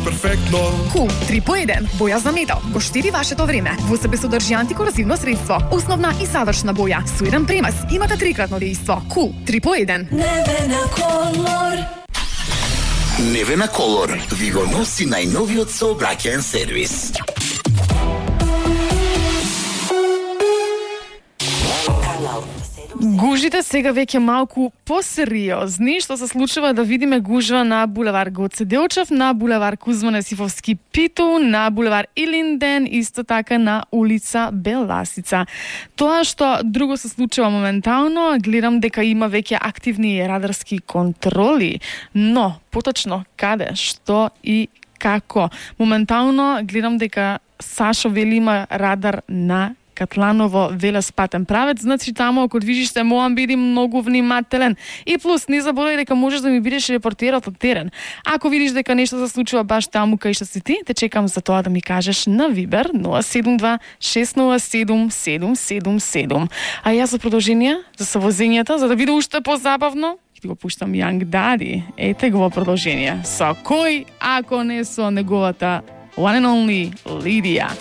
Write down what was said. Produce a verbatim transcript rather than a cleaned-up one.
перфектно. Кул три по еден, боја за метал, го штиди вашето време. Во себе содржи антикорозивно средство, основна и завршна боја, со еден премаз, имате трикратно дејство. Кул три по еден. Невена Колор. Невена Колор ви го носи најновиот сообраќаен сервис. Гужите сега веќе малку посериозни, што се случува да видиме гужва на булевар Гоце Делчев, на булевар Кузман Есифовски Питу, на булевар Илинден, исто така на улица Беласица. Тоа што друго се случува моментално, гледам дека има веќе активни радарски контроли, но поточно каде, што и како. Моментално гледам дека Сашо вели има радар на Катланово велоспатен правец, значи таму ако движиш се морам биди многу внимателен. И плюс не заборај дека можеш да ми бидеш репортерот од терен. Ако видиш дека нешто се случува баш таму кај што си ти, те чекам за тоа да ми кажеш на Вибер нула седум два шест нула седум седум седум седум. А јас за продолжение за совозењето, за да биде уште позабавно, ќе го пуштам Young Daddy. Ете го во продолжение. Со кој ако не со неговата one and only Лидија.